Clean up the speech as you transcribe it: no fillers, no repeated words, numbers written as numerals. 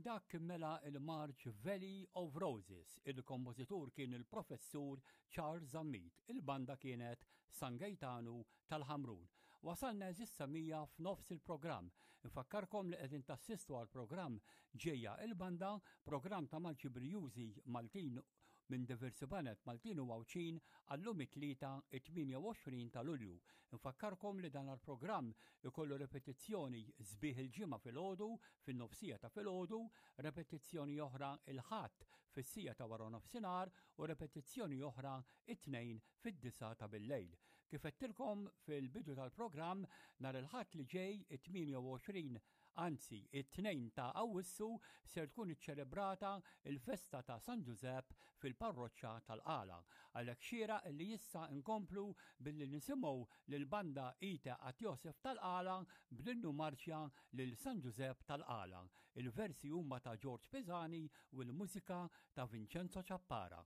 Dak kien mela il-marċ Valley of Roses. Il-kompożitur kien il-Professur Charles Zammit. Il-banda kienet San Gejtanu tal-Ħamrun. Wasalna eżis samija f'nofs il-programm. Infakkarkom li qegħdin tassistu għal programm Ġejja il-Banda, programm ta' marċi brijużi Maltin minn diversi baned Maltin u Għawdxin għallum it-Tlieta it-28 ta' Lulju. Infakkarkom li dan għal-programm ikollu repetizzjoni sbieħ il-Ġimgħa filgħodu fin-nofsija ta' filgħodu, repetizzjoni oħra il-Ħadd fis-sija ta' wara nofsinhar u repetizzjoni oħra it-Tnejn fid-disgħa ta' billejl. Kif għedtilkom fil-bidu tal-programm, nhar il-Ħadd li ġej it-28 anzi it-2 ta' Awwissu ser tkun iċċelebrata il-festa ta' San Ġużepp fil-parroċċa tal-Qala. Għalhekk xieraq li issa nkomplu billi nisimgħu lill-banda Ite At Josef tal-Qala bl-innu marċja lil San Ġużepp tal-Qala. Il-versi huma ta' Ġorġ Pisani u l-mużika ta' Vincenzo Ciappara.